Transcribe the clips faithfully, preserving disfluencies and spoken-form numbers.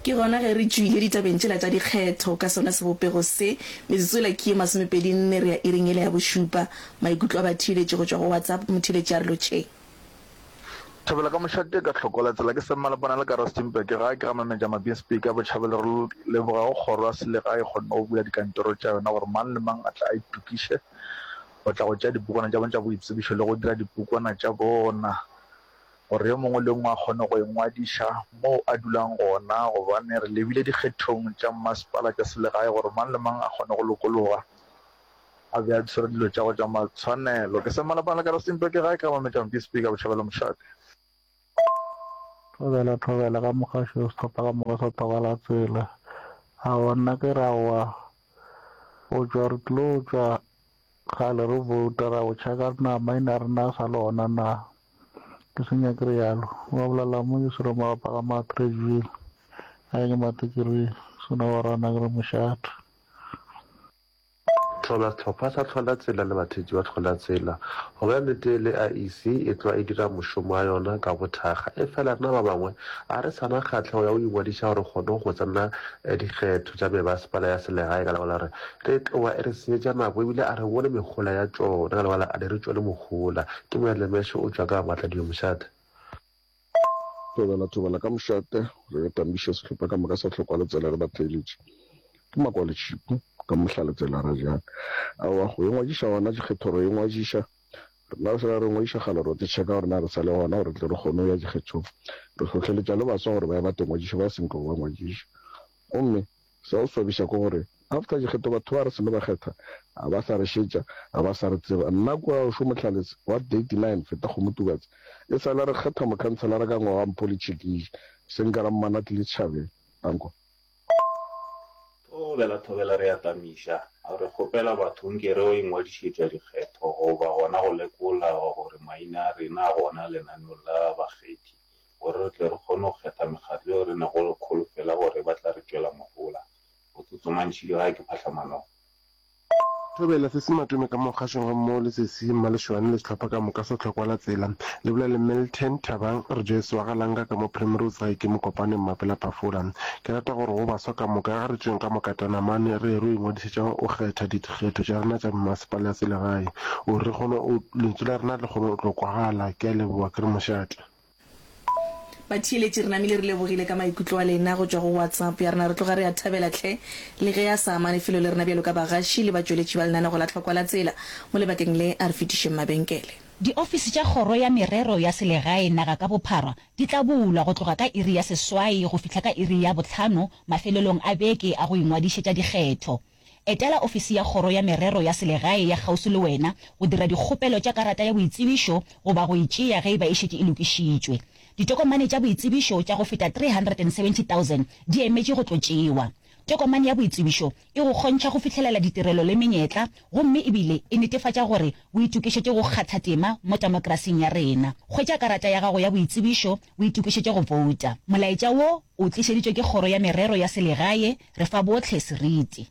Ke gona ge re tšwile ditabeng tšela tša dikgetho ka sona sebopego se. Metsotso yela ke ye masomepedi nne re ya iring yela ya bošupa. Maikutlo a batheeletši go tšwa go WhatsApp, motheeletši a re lotšheng. Thobela ka mošate ka hlokola tsela ke Semmalapana le ka Rustenburg gae ke ga Mametša Mabinspeak a Botšhabelo re leboga go kgoro ya selegae e kgonne go bula dikantoro tša yona gore mang le mang a tle a itokiše go tla go tšea dipukwana tša bona tša boitsebišo le go dira dipukwana tša bona gore yo mongwe le yo mongwe a kgone go ingwadiša moo a dulang gona gobane re lebile dikgethong tša mmasepala tša selegae gore mang le mang a kgone go lokologa a be a tshwere dilo tša gagwe tša matshwanelo. Ke Semmalapana le ka Rustenburg gae ke ga Mametša Mpispeak a Botšhabelo Mošate. Thobela thobela ka mogašo sehlopha ka moka sa tlogela tsela. Aowa nna ke re aowa go tšwa re tlo tšwa kgale re vouta ra go checka na maina a rena a sa le gona na. Ke senya ke realo. Ba bolela mo ke swere malapa ga Matreville. A ke Matekiri sona wa rana ke re mošate. Thobela Sehlopha sa Hlola Tsela le batheetši ba Hlola Tsela. Go bolela nnete le I E C e tloga e dira mošomo wa yona ka bothakga, efela rena ba bangwe ga re sa na kgahlego ya go ingwadiša gore re kgone go tsena dikgetho tša mebasepala ya selegae ka lebaka la gore re tloga e re senyetša nako ebile a re bone mehola ya tšona ka lebaka la a di re tšwele mohola. Ke Moyalemeše o tšwa ka Matladio Mošate. Thobela thobela ka mošate re tamiša sehlopha ka moka sa hlokwa letsela re batheeletše ke makwale tšhipu ka mohlale tsela ra jang aowa go ingwadiša gona dikgetho re ingwadiša rena re sala re ingwadiša kgale re tšheka gore na re sa le gona gore tle re kgone go ya dikgethong re hlohleletša le baswa gore ba ye ba tengwadiša ba senko ba ngwadiša gomme sa go swabiša ke gore after dikgetho batho ba re seno ba kgetha a ba sa re šetša a ba sa re tseba nna kua o šo motlhaletse wa thirty-nine feta kgomotubatse e sale re kgetha mokhanselara ka ngwaga mpho le tšhikiši se nka ra mmana tlile tšhabeng danko. Thobela thobela re a tamiša re kgopela batho nke re o ingwadišetša dikgetho goba gona go lekola gore maina a rena a gona lenaneong la bakgethi gore re tle re kgone go kgetha mekgatlo yeo re nago le kholofelo gore ba tla re tšwela mohola. Go tsotsomantšhile gae ke phahlamanong. Thobela se se matome ka mo kgašong gammogo le sesi Mmalešwane le sehlopha ka moka sa Tlhokwa la Tsela. Le bolela le Milton Thabang Rejoice wa ga Langa ka mo Primrose gae ke Mokopane Mmapela Phafola. Ke rata gore go baswa ka moka ga re tšweng ka mokatana mane re ye ro ingwadišetša go kgetha dikgetho tša rena tša mmasepala ya selegae gore re kgone o lentswe la rena le kgone go tlo kwagala. Ke a leboga ke re mošate. Batheeletši re namile re lebogile ka maikutlo a lena go tšwa go WhatsApp ya rena. Re tloga re a thabela hle le ge a sa amane felo le rena bjalo ka bagaši le batšweletši ba lenanego la Tlhokwa la Tsela. Mo lebakeng le a re fetišeng mabenkele. Diofisi tša Kgoro ya Merero ya Selegae naga ka bophara di tla bulwa go tloga ka iri ya seswai go fihla ka iri ya bohlano mafelelong a beke a go ingwadišetša dikgetho. Etela ofisi ya Kgoro ya Merero ya Selegae ya kgauswi le wena go dira dikgopelo tša karata ya boitsebišo goba go e tšea ge e ba e šetše e lokišitšwe. Ditokomane tša boitsebišo tša go feta three hundred and seventy thousand di emetše go tlo tšewa. Tokomane ya boitsebišo e go kgontšha go fihlelela ditirelo le menyetla gomme ebile e netefatša gore o itokišetše go kgatha tema mo temokrasing ya rena. Hwetša karata ya gago ya boitsebišo o itokišetše go bouta. Molaetša wo o tlišeditšwe ke Kgoro ya Merero ya Selegae, re fa bohle seriti.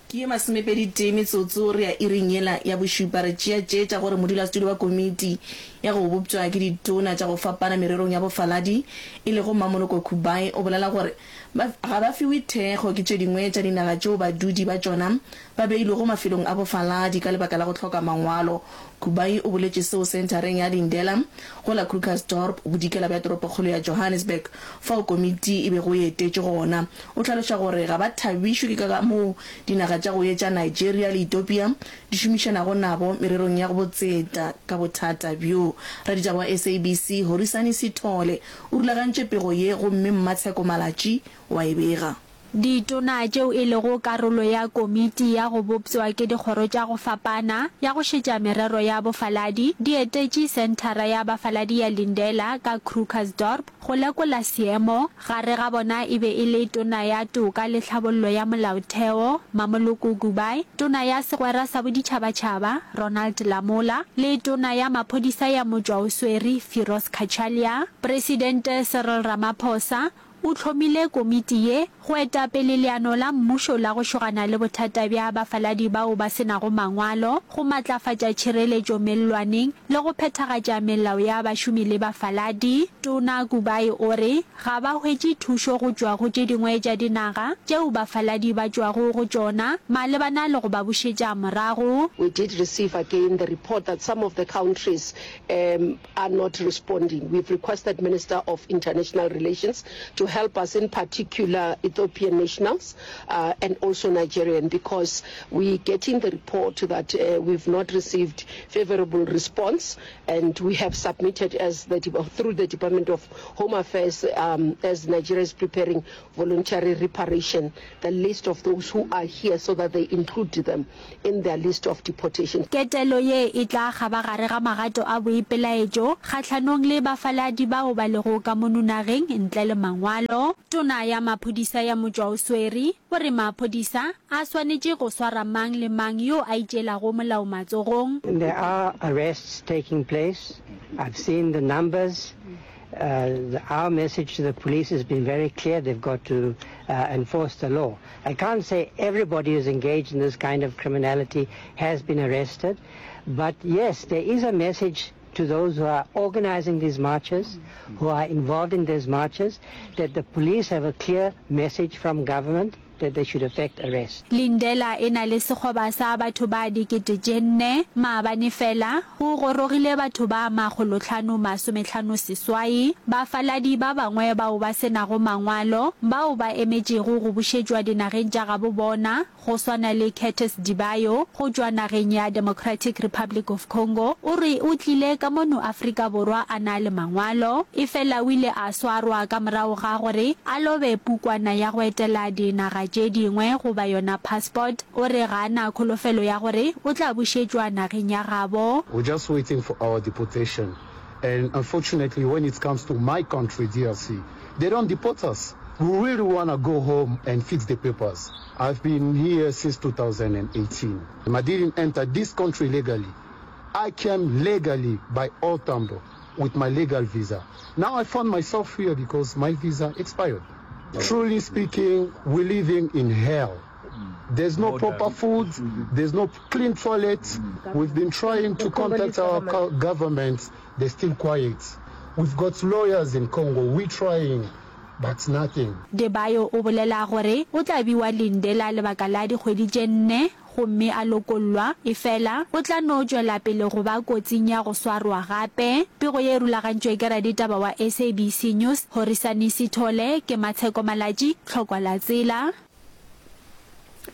Ke ye masomepedi tee metsotso re ya iring yela ya bošupa. Re tšea tše tša gore modulasetulo wa komiti ya go bopša ke ditona tša go fapana mererong ya bofaladi e lego Mmamoloko Kubayi o bolela gore ba ga ba fiwe thekgo ke tše dingwe tša dinaga tšeo badudi ba tšona ba beilwego mafelong a bofaladi ka lebaka la go hloka mangwalo. Kubayi o boletše seo senthareng ya Lindela go la Krugersdorp, bodikela bja toropokgolo ya Johannesburg, fao komiti e bego e etetše gona. O hlaloša gore ga ba thabišwe ke ka moo dinaga tša go etša Nigeria le Ethiopia di šomišanago nabo mererong ya botseta ka bothata bjo. Raditaba wa S A B C, Horisani Sithole, o rulagantše pego ye gomme Mmatsheko Malatji wa e bega. Ditona tšeo e lego karolo ya komiti ya go bopšwa ke dikgoro tša go fapana ya go šetša merero ya bofaladi di etetše Senthara ya Bafaladi ya Lindela ka Krugersdorp go lekola seemo. Gare ga bona e be e le Tona ya Toka le Tlhabollo ya Molaotheo, Mamoloko Kubayi, Tona ya Segwera sa Boditšhabatšhaba, Ronald Lamola, le Tona ya Maphodisa ya Motšwaoswere, Firoz Cachalia. Presidente Cyril Ramaphosa o hlomile komiti ye go eta pele leano la mmušo la go šogana le bothata bja bafaladi bao ba se nago mangwalo, go matlafatša tšhireletšo mellwaneng le go phethagatša melao ya bašomi le bafaladi. Tona Kubayi o re ga ba hwetše thušo go tšwa go tše dingwe tša dinaga tšeo bafaladi ba tšwago go tšona malebana le go ba bušetša morago. We did receive again the report that some of the countries um are not responding. We've requested Minister of International Relations to help us, in particular Ethiopian nationals uh, and also Nigerian, because we're getting the report that uh, we've not received favorable response, and we have submitted as the, through the Department of Home Affairs, um, as Nigeria is preparing voluntary reparation, the list of those who are here so that they include them in their list of deportation. Ketelo ye e tla kgabagare ga magato a boipelaetšo kgahlanong le bafaladi bao ba lego ka mono nageng ntle le mangwalo. Tona ya Maphodisa ya Motšwaoswere o re maphodisa a swanetše go swara mang le mang yo a itšeelago molao matsogong. There are arrests taking place. I've seen the numbers. Uh, our message to the police has been very clear. They've got to uh, enforce the law. I can't say everybody who's engaged in this kind of criminality has been arrested, but yes, there is a message to those who are organizing these marches, who are involved in these marches, that the police have a clear message from government that they should effect arrest. Lindela e na le sekgoba sa batho ba dikete tše nne. Maabane fela, go gorogile batho ba makgolohlano masomehlano seswai, bafaladi ba bangwe bao ba se nago mangwalo, bao ba emetšego go bušetšwa dinageng tša gabo bona, go swana le Curtis Dibayo go tšwa nageng ya Democratic Republic of Congo, o re o tlile ka mono Afrika Borwa a na le mangwalo, efela o ile a swarwa ka morago ga gore a lobe pukwana ya go etela dinaga tše dingwe goba yona passport. O re ga a na kholofelo ya gore o tla bušetšwa nageng ya gabo. We're just waiting for our deportation and unfortunately when it comes to my country D R C they don't deport us. We really wanna go home and fix the papers. I've been here since two thousand and eighteen. I didn't enter this country legally. I came legally by O R Tambo with my legal visa. Now I found myself here because my visa expired. Truly speaking, we're living in hell. There's no proper food, there's no clean toilets. We've been trying to contact our government, they're still quiet. We've got lawyers in Congo, we're trying, but nothing. Debayo o bolela gore o tla bewa Lindela lebaka la dikgwedi tše nne gomme a lokollwa, efela o tla no tšwela pele go ba kotsing ya go swarwa gape. Pego ye e rulagantšwe ke raditaba wa S A B C News, Horisani Sithole, ke Matsheko Malatji, Tlhokwa la Tsela.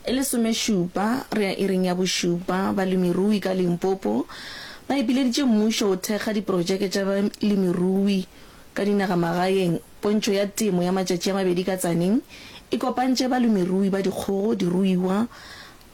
E lesomešupa re ya iring ya bošupa, balemirui ka Limpopo ba ipileditše mmušo go thekga diprojeke tša balemirui ka dinagamagaeng. Pontšho ya temo ya matšatši a mabedi ka Tzaneen e kopantše balemirui ba dikgogo, diruiwa,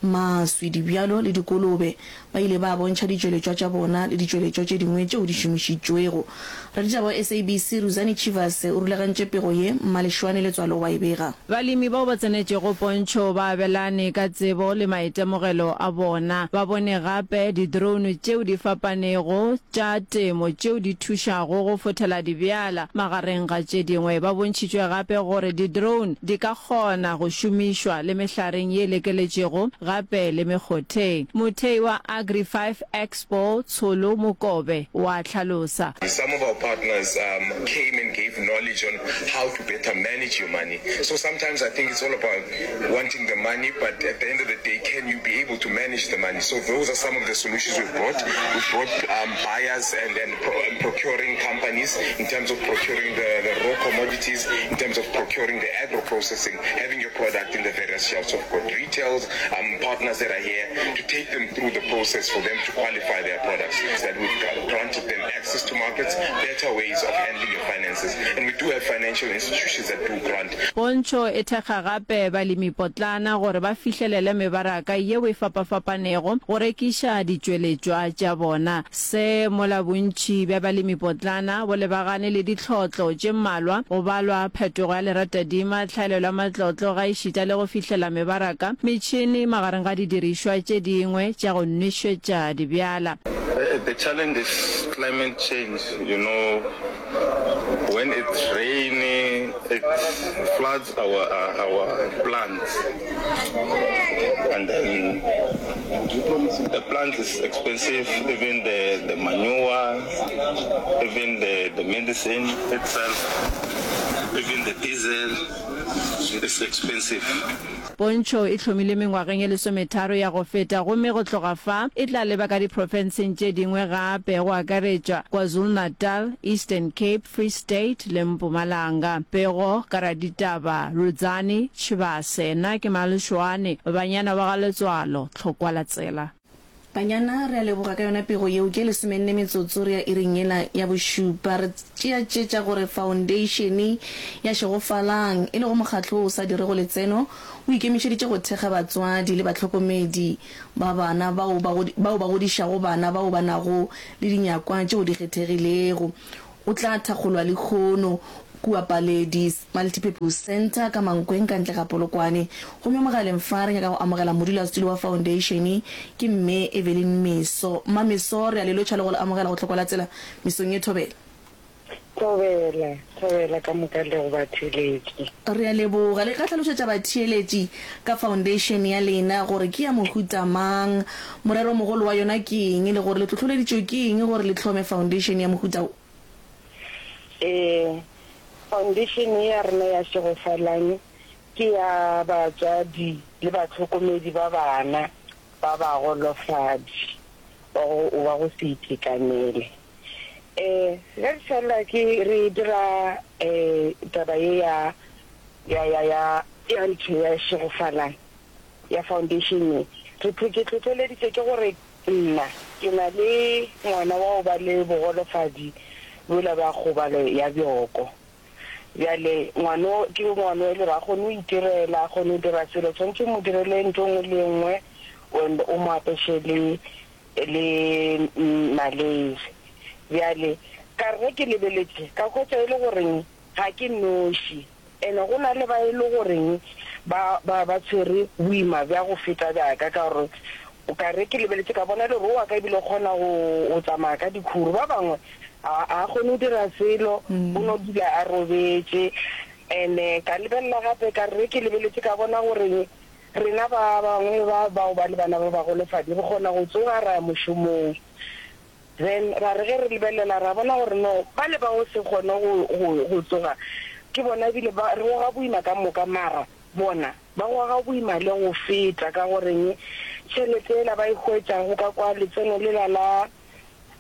maswi, dibjalo le dikolobe. Ba ile ba bontšha ditšweletšwa tša bona le ditšweletšwa tše dingwe tšeo di šomišitšwego. Raditaba wa S A B C Ruzani Tshivhase o rulagantše pego ye, Mmalešwane Letswalo wa e bega. Balemi bao ba tsenetšego pontšho ba abelane ka tsebo le maitemogelo a bona. Ba bone gape di-drone tšeo di fapanego tša temo tšeo di thušago go fothela dibjala, magareng ga tše dingwe. Ba bontšhitšwe gape gore di-drone di ka kgona go šomišwa le mehlareng ye lekeletšego gape le mekgotheng. Mothei wa Agri five Expo, Tsholo Mokobe, wa hlalosa. Some of our partners um, came and gave knowledge on how to better manage your money. So sometimes I think it's all about wanting the money, but at the end of the day, can you be able to manage the money? So those are some of the solutions we've brought. We've brought um, buyers and, and, pro and procuring companies in terms of procuring the, the raw commodities, in terms of procuring the agro-processing, having your product in the various shelves. So we've got retails, um, partners that are here to take them through the process for them to qualify their products. That we've granted them access to markets, better ways of handling your finances. And we do have financial institutions that do grant. Pontšho e thekga gape balemipotlana gore ba fihlelele mebaraka yeo e fapafapanego go rekiša ditšweletšwa tša bona. Se mola bontši bja balemipotlana bo lebagane le ditlhotlo tše mmalwa, go balwa phetogo ya leratadima, tlhaelelo ya matlotlo ga ešita le go fihlela mebaraka, metšhene magareng ga didirišwa tše dingwe tša go nwešetša dibjala. The challenge is climate change, you know, when it's rainy, It floods our uh, our plants, and then the plant is expensive. Even the the manure, even the the medicine itself, even the diesel is expensive. Pontšho e hlomilwe mengwageng ye lesometharo ya go feta gomme go tloga fa e tla leba ka diprofenseng tše dingwe gape go akaretšwa KwaZulu-Natal, Eastern Cape, Free State le Mpumalanga. Pego ka raditaba Rudzani Tshivhase. Nna ke Malešoane, Banyana wa ga Letswalo, Tlhokwa la Tsela. Banyana, re a leboga ka yona pego yeo. Ke lesomenne metsotso re ya iring yela ya bošupa. Re tšea tše tša gore Foundeišene ya Šegofalang, e lego mokgatlo wo o sa dirego letseno, o ikemišeditše go thekga batswadi le bahlokomedi ba bana bao ba bao ba godišago bana bao ba nago le dinyakwa tšeo di kgethegilego. O tla thakgolwa lehono kua Paledi Multipurpose Centre ka Mankweng ka ntle ga Polokwane. Gomme mogaleng fa re nyaka go amogela modulasetulo wa foundation ke Mme Evelyn Meso. Mma Meso, re a le lotšha le go le amogela go Tlhoko la Tsela mesong ye. Thobela. Thobela, thobela ka moka le go batheeletši. Re a leboga. Le ka hlalošetša batheeletši ka foundation ya lena gore ke ya mohuta mang, moreromogolo wa yona ke eng le gore le hlohloleditšwe ke eng gore le hlome foundation ya mohuta wo? Ee, foundation ye ya rena ya Šegofalang ke ya batswadi le bahlokomedi ba bana ba bagolofadi ba go ba go se itekanele. Ee, ge re fela ke re dira um taba ye ya ya ya ya ya ntho ya Šegofalang ya foundation ye, re ke hlohleleditše ke gore Nna ke na le ngwana wa go ba le bogolofadi bjola bja kgobalo ya bjoko. Bjale ngwano ke ngwano e le gore ga kgone go itirela, ga kgone go dira selo, tshwanetše o mo direle ntho e nngwe le e nngwe and o mo apeše le le maleire. Bjale ka re ge ke lebeletše ka hwetša e le goreng ga ke noši. Ene go na le ba e le goreng ba, ba, ba tshwere boima bja go feta bja ka, ka gore o ka re ke lebeletše ka bona le gore wa ka ebile o kgona go, go tsamaya ka dikhuru. Ba bangwe a, a kgone go dira selo, o no dula a robetše. Ene ka lebelela gape ka re ge ke lebeletše ka bona gore rena ba bangwe ba bao ba le bana ba bagolofadi re kgona go tsoga ra ya mošomong. Then ra re ge re lebelela ra bona gore no, bale ba go se kgone go, go, go tsoga, ke bona ebile ba, re goga boima ka moka, mara bona ba goga boima le go feta, ka goreng tšhelete yela ba e hwetšago ka kwa letseno lela la,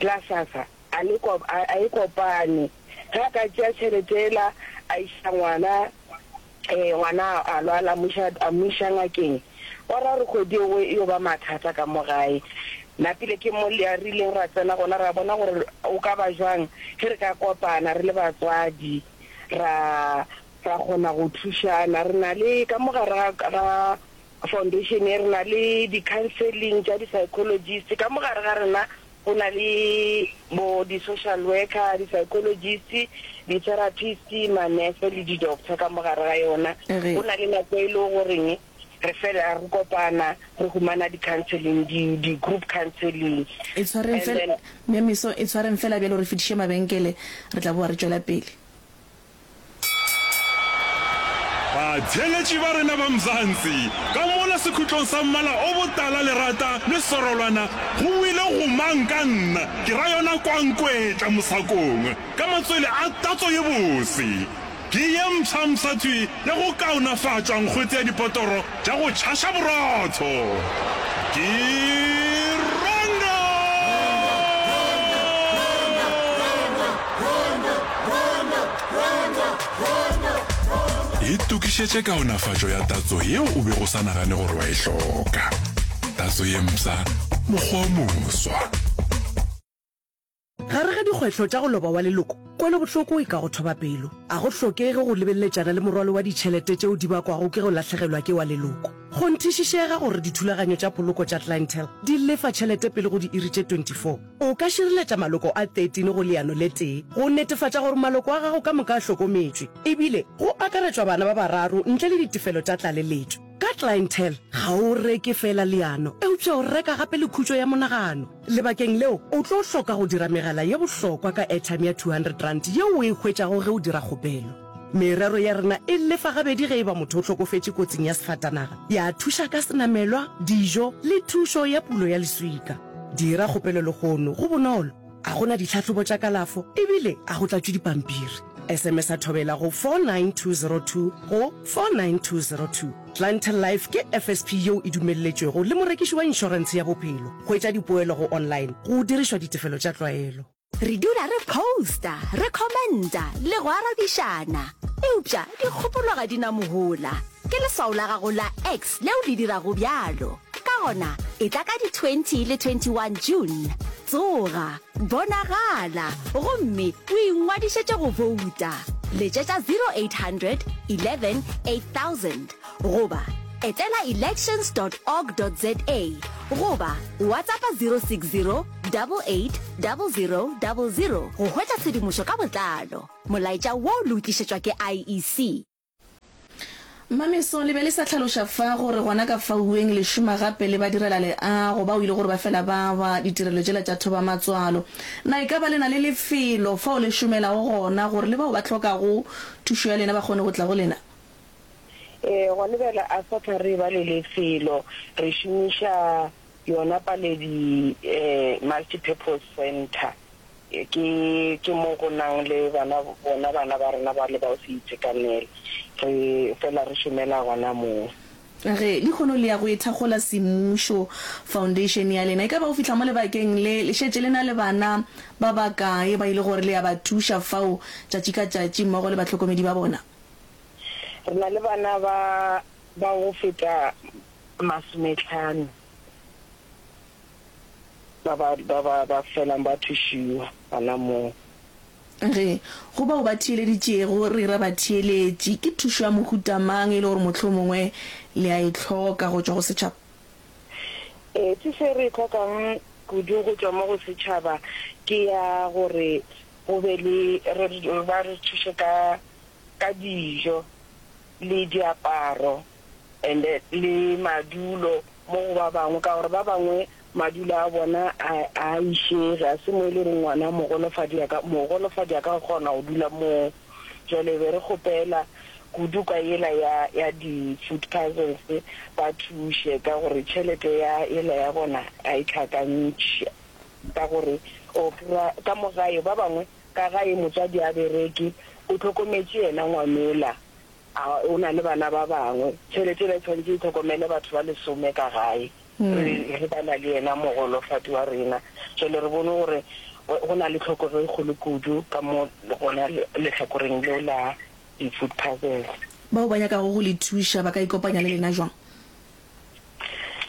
la SASSA a le ko, a, a e kopane. Ge a ka tšea tšhelete yela a iša ngwana, Ee, ngwana a lwala, a mo iša, a mo iša ngakeng. Gwa ra gore kgwedi yeo e yo ba mathata ka mo gae. Napile ke mo re ileng ra tsena gona, ra bona gore go ka ba jwang ge re ka kopana re le batswadi, ra, ra kgona go thušana. Re na le, ka mo gare ga, ga foundation ye, re na le di-counselling tša di-psychologist. Ka mo gare ga rena Go na le bo di-social worker, di-psychologist, di-therapist, manese le di-doctor ka mo gare ga yona. Go na le nako e le goreng re fela re kopana re humana di-counselling, di-group counselling. E tshwareng fela, Mme Meso, e tshwareng fela bjalo re fetiše mabenkele, re tla boa re tšwela pele. Batheeletši ba rena ba Mzansi, ka mola sekhutlong sa mmala o botala lerata le sorolwana go boile gomang ka nna, ke ra yona kwankwetla mosakong ka matswele a tatso ye bose. Ke ye mpshampsha thwi ya go kaonafatšwa nkgwete ya dipotoro tša go tšhaša borotho. Ke Rondo! Itokišetše kaonafatšo ya tatso yeo o bego o sa nagane gore wa e hloka. Tatso ye mpsha, mokgwa o moswa. Gare ga dikgwetlho tša go loba wa leloko, kwelobohloko e ka go thoba pelo. A go hlokege go lebeleletšana le morwalo wa ditšhelete tšeo di bakwago ke go lahlegelwa ke wa leloko. Kgonthišišega gore dithulaganyo tša poloko tša Clientele di lefa tšhelete pele go diiri tše twenty four. O ka šireletša maloko a thirteen go leano le tee go netefatša gore maloko a gago ka moka a hlokometšwe, ebile go akaretšwa bana ba bararo ntle le ditefelo tša tlaleletšo. Ka Clientele, ga o reke feela leano, eupša o reka gape le khutšo ya monagano. Lebakeng leo, o tlo hloka go dira megala ye bohlokwa ka airtime ya two hundred rand yeo o e hwetšago ge o dira kgopelo. Merero ya rena e lefa gabedi ge e ba motho o hlokofetše kotsing ya sefatanaga, ya thuša ka senamelwa, dijo le thušo ya pulo ya leswika. Dira kgopelo lehono, go bonolo, a go na ditlhahlobo tša kalafo ebile a go tlatšwe dipampiri. S M S-a Thobela go four nine two zero two go four nine two zero two. Clientele Life ke F S P yeo e dumelletšwego le morekiši wa inšorentshe ya bophelo. Hwetša dipoelo go online go dirišwa ditefelo tša tlwaelo. Re dula re posta, re commenta le go arabišana. Eupša dikgopolo ga di na mohola. Ke leswao la gago la X leo le dirago bjalo. Ka gona, etla ka di twenty le twenty one June. Tsoga, bonagala, gomme o ingwadišetše go bouta. Letšetša zero eight hundred eleven eight thousand goba etela elections dot org dot za goba WhatsAppa zero six zero double eight double zero double zero go hwetša tshedimošo ka botlalo. Molaetša wo le o tlišetšwa ke I E C. Mmameso, le be le sa hlaloša fa gore gona ka faueng le šoma gape le badirelaleago bao e le gore ba fela ba ba ditirelo tšela tša thobamatswalo. Na e ka ba le na le lefelo fao le šomelago gona gore le bao ba hlokago thušo ya lena ba kgone go tla go lena? Ee, gona bjale a sa hlwa re eba le lefelo, re šomiša yona Paledi Multi-Purpose Centre. Ke, ke mo go nang le bana, bona bana ba rena ba le ba go se itekanele. Re fela re šomela gona moo. Ge, lehono le ya go e thakgola semmušo, foundation ya lena. E ka ba go fihla mo lebakeng le, le šetše le na le bana ba bakae ba e le gore le ya ba thuša fao tšatši ka tšatši mmogo le bahlokomedi ba bona? Re na le bana ba, ba go feta masometlhano. Ba ba, ba ba, ba felang ba thušiwa gona moo. Ge, go bao ba theeleditšego, re ra batheeletši, ke thušo ya mohuta mang e le gore mohlomongwe le a e hloka go tšwa go setšhaba? Ee, thušo e re e hlokang kudu go tšwa mo go setšhaba ke ya gore go be le, re, ba re thuše ka, ka dijo le diaparo and le madulo mo go ba bangwe, ka gore ba bangwe madulo a bona a a išege, a se mo e le gore ngwana mogolofadi a ka, mogolofadi a ka kgona go dula moo. Jwale be re kgopela kudu ka yela ya, ya di food parcels ba thuše, ka gore tšhelete ya yela ya bona a e hlakantšhe, ka gore o kry-a ka mo gae ba bangwe ka gae motswadi a bereke, o hlokometše yena ngwanola, A o na le bana ba bangwe? Tšhelete yela e swanetše e hlokomele batho ba lesome ka gae, re, re bala le yena mogolofadi wa rena. Jwale re bone gore go na le tlhokego e kgolo kudu ka mo gona lehlakoreng leo la di-food parcels. Bao ba nyakago go le thuša ba ka ikopanya le lena jwang?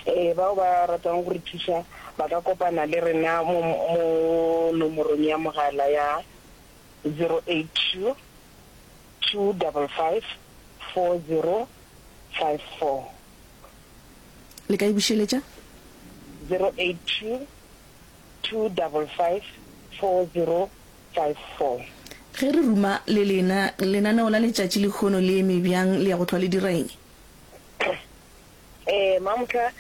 Ee, bao ba ratang go re thuša ba ka kopana le rena mo, mo nomorong ya mogala ya zero eight two two double five four zero five four. Le ka e bušeletša? Zero eight two two double five four zero five four. Ge re ruma le lena, lenaneo la letšatši lehono le eme bjang, le ya go hlwa le dira eng? Ee, Mamhla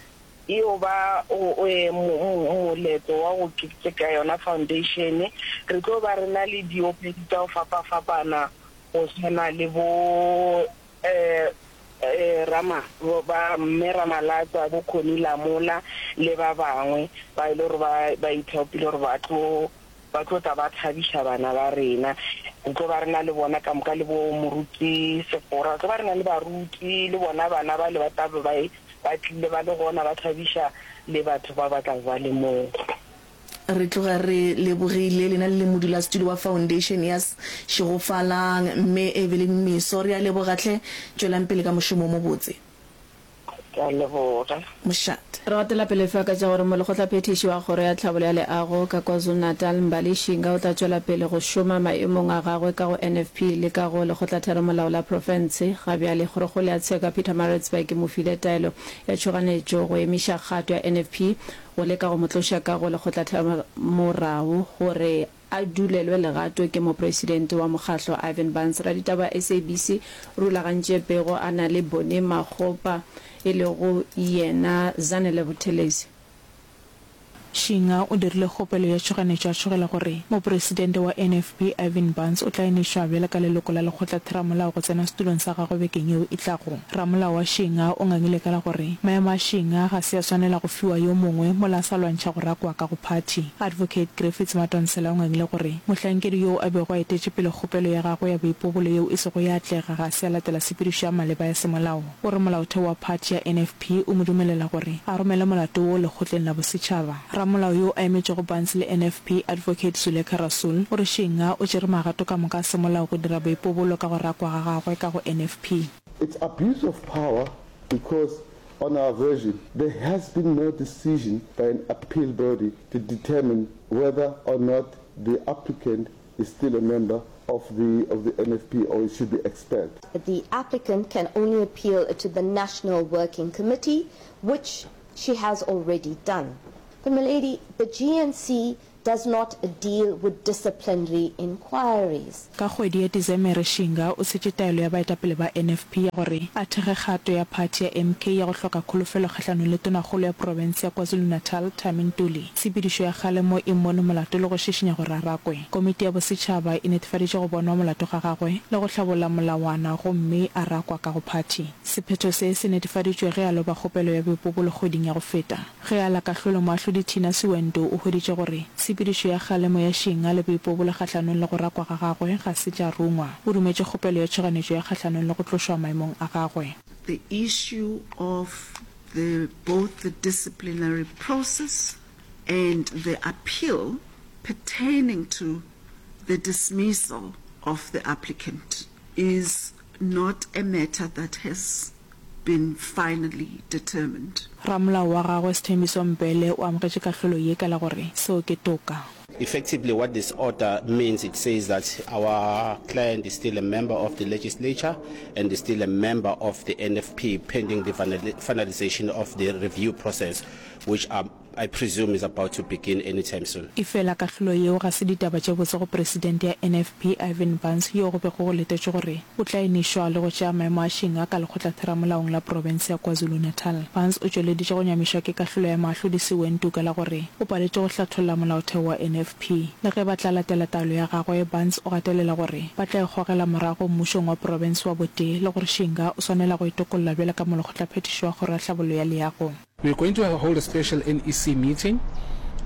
e yo ba moletlo wa go keteka yona foundation. Re tlo ba re na le diopedi tša go fapafapana go swana le bo Rama, ba Mme Ramalatsa, bo Connie Lamola le ba bangwe ba e le gore ba ba ithaopile gore ba tlo ba tlo tla ba thabiša bana ba rena. Re tlo ba re na le bona ka moka le bo Moruti Sefora, re tlo ba re na le baruti le bona bana bale ba tla be ba ba tlile ba le gona ba thabiša le batho ba ba tla be ba le moo. Re tloga re lebogile lena le le modulasetulo wa Foundation ya Šegofalang, Mme Evelyn Meso. Re a leboga hle. Tšwelang pele ka mošomo o mobotse. Ke a leboga. Mošate. Re gatela pele fa ka tša gore Molekgotlaphethiši wa Kgoro ya Tlhabollo ya Leago ka KwaZulu-Natal, Mbali Shinga o tla tšwela pele go šoma maemong a gagwe ka go N F P le ka go Lekgotlatheramolao la Profense. Ga bjale Kgorokgolo ya Tsheko ya Pietermaritzburg e mo file taelo ya tšhoganetšo go emiša kgato ya N F P go leka go mo tloša ka go Lekgotlatheramorao gore a dulelwe legato ke Mopresidente wa mokgahlo Ivan Barnes. Raditaba S A B C o rulagantše pego a na le Bonnie Makgopa e lego yena Zanele Buthelezi. Shinga o dirile kgopelo ya tšhoganetšo a tšhogela gore mopresidente wa N F P Ivan Barnes o tla enišwa bjalo ka leloko la lekgotlatheramolao go tsena setulong sa gagwe bekeng yeo e tlago. Ramolao wa Shinga o ngangile ka la gore maemo a Shinga ga se a swanela go fiwa yo mongwe mola a sa lwantšha go rakwa ka go phathi. Advocate Griffiths Madonsela o ngangile gore mohlankedi yoo a bego a etetše pele kgopelo ya gagwe ya boipobolo yeo e sego ya atlega ga se a latela tshepedišo ya maleba ya semolao. O re molaotheo wa phathi ya N F P o mo dumelela gore a romele molato woo lekgotleng la bosetšhaba. Ramolao yo a emetšego Barnes le N F P, Advocate Zulekha Rasool, o re Shinga o tšere magato ka moka a semolao go dira boipobolo ka go rakwa ga gagwe ka go N F P. It's abuse of power because on our version there has been no decision by an appeal body to determine whether or not the applicant is still a member of the of the N F P or should be expelled. The applicant can only appeal to the National Working Committee, which she has already done. But milady, the G N C does not deal with disciplinary inquiries. Ka kgwedi ya Desemere Shinga o tshetše taelo ya baetapele ba N F P ya gore a thekge kgato ya phathi ya M K ya go hloka kholofelo kgahlanong le tonakgolo ya profense ya KwaZulu-Natal Thami Ntuli. Tshepedišo ya kgalemo e mmone molato le go šišinya gore a rakwe. Komiti ya bosetšhaba e netefaditše go bonwa molato ga gagwe le go hlabolla molawana gomme a rakwa ka go phathi. Sephetho se se netefaditšwe ge a loba kgopelo ya boipobolo kgweding ya go feta. Ge a la kahlolo moahlodi Tina Siwendo o hweditše gore tshepedišo ya kgalemo ya Shinga le boipobolo kgahlanong le go rakwa ga gagwe ga se tša rungwa. O dumetše kgopelo ya tšhoganetšo ya kgahlanong le go tlošwa maemong a gagwe. The issue of the both the disciplinary process and the appeal pertaining to the dismissal of the applicant is not a matter that has been finally determined. Ramolao wa gagwe Sthembiso Mbhele o amogetše kahlolo ye ka la gore seo ke toka. Effectively what this order means, it says that our client is still a member of the legislature and is still a member of the N F P pending the finalization of the review process, which are, I presume is about to begin anytime soon. Efela kahlolo yeo ga se ditaba tše botse go presidente ya N F P Ivan Barnes yo go bego go letetšwe gore o tla enišwa le go tšea maemo a Shinga ka lekgotlatheramolaong la profense ya KwaZulu-Natal. Barnes o tšweleditše go nyamišwa ke kahlolo ya moahlodi Siwentu ka la gore o paletše go hlatholla molaotheo wa N F P. Le ge ba tla latela taelo ya gagwe, Barnes o gatelela gore ba tla ikgogela morago mmušong wa profense wa botee le gore Shinga o swanela go itokolla bjalo ka molekgotlaphethiši wa kgoro ya tlhabollo ya leago. We're going to hold a special N E C meeting,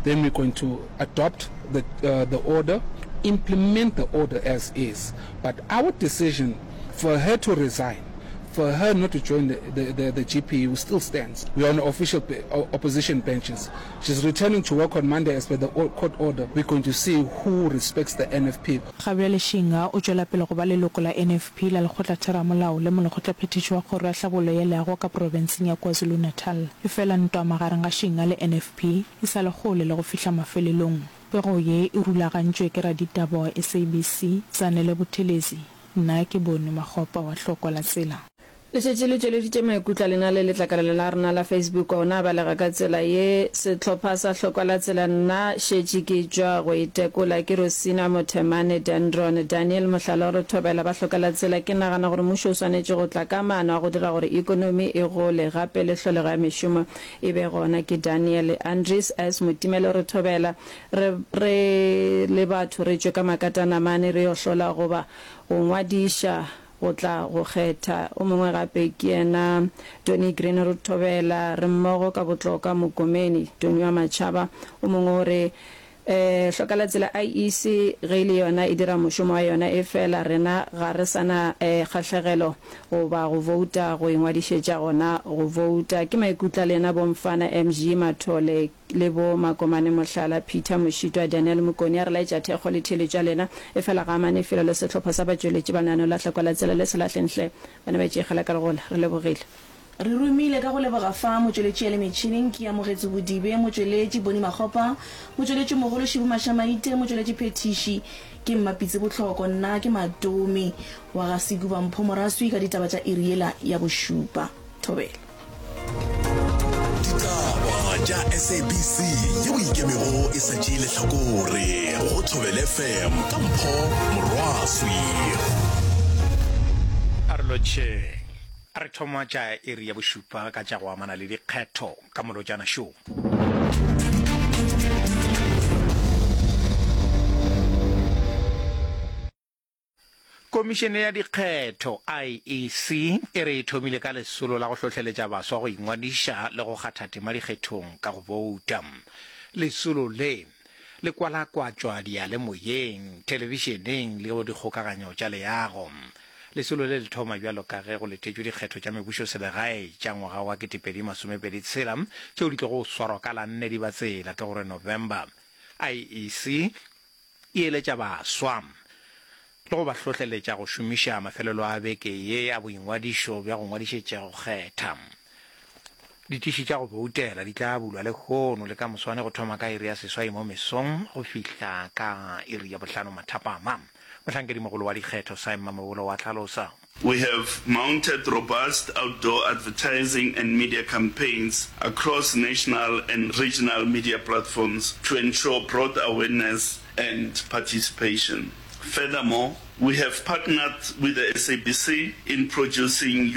then we're going to adopt the, uh, the order, implement the order as is. But our decision for her to resign, for her not to join the, the, the, the G P U still stands. We are on official be-, opposition benches. She's returning to work on Monday as per the o-, court order. We're going to see who respects the N F P. Ga bjale Shinga o tšwela pele go ba leloko la N F P la lekgotlatheramolao le molekgotlaphethiši wa kgoro ya tlhabollo ya leago ka profenseng ya KwaZulu-Natal. Efela ntwa magareng ga Shinga le N F P e sa le kgole le go fihla mafelelong. Pego ye e rulagantšwe ke raditaba wa S A B C, Zanele Buthelezi. Nna ke Bone Makgopa wa Hlokwa la Tsela. Le šetše le tšweleditše maikutlo a lena le letlakala la rena la Facebook, ona a balega ka tsela ye. Sehlopha sa Hlokwa la Tsela, nna šetše ke tšwa go itekola ke Rosina Mothemane Dendron Daniel Mohlala re thobela ba Hlokwa la Tsela. Ke nagana gore mmušo o swanetše go tla ka maano a go dira gore ekonomi e gole gape le tlholego ya mešomo e be gona. Ke Daniel Andries S Motimele re thobela re, re le batho re tšwe ka makatanamane re yo hlola goba go ngwadiša go tla go kgetha. O mongwe gape ke yena Tony Green re thobela re mmogo ka botloka Mokomeni Tony wa Matšhaba. O mongwe o re eh Hloka la Tsela I E C ge e le yona e dira mošomo wa yona, e fela rena ga re sana eh kgahlegelo goba go vouta go ingwadišetša gona go vouta. Ke maikutlo a lena bomfana M G Mathole le bo Makomane Mohlala Peter Moshitwa Daniel Mokoni a re laetša thekgo le theeletšo ya lena. E fela ga amane felo le sehlopha sa batšweletši ba lenaneo la Hlokwa la Tsela le se lahlenhle ba ne ba itšegela ka legola. Re lebogile. Re romile ka go leboga fa motšweletši ya le metšhineng ke amogetše Bodibe, motšweletši Boni Makgopa, motšweletši mogolo Šibu Mašamaite, motšweletši Phethiši ke Mmapitse Bohloko, nna ke Matome wa ga Sekuba Mpho Moraswi ka ditaba tša iri yela ya bošupa. Thobela. Ditaba tša S A B C yeo ikemego e sa tšee lehlakore go Thobela F M ka Mpho Morwaswi. A re lotšheng. A re thoma tša iri ya bošupa ka tša go amana le dikgetho ka molotšana šo. Komišene ya Dikgetho, IEC, e re e thomile ka lesolo la go hlohleletša baswa go ingwadiša le go kgatha tema dikgethong ka go bouta. Lesolo le le kwalakwatšwa diyalemoyeng, thelebišeneng le go dikgokaganyo tša leago. Lesolo le le thoma bjalo ka ge go letetšwe dikgetho tša mebušoselegae tša ngwaga wa ketepedi masomepedi tshela tšeo di tlogo swarwa ka la nne Dibatsela, ke gore November. IEC e eletša baswa le go ba hlohleletša go šomiša mafelelo a beke ye a boingwadišo bja go ngwadišetša go kgetha. Ditiši tša go boutela di tla bulwa lehono le ka moswane go thoma ka iri ya seswai mo mesong go fihla ka iri ya bohlano mathapama. Mohlankedimogolo wa dikgetho Simon Mamabolo wa hlalosa. We have mounted robust outdoor advertising and media campaigns across national and regional media platforms to ensure broad awareness and participation. Furthermore, we have partnered with the S A B C in producing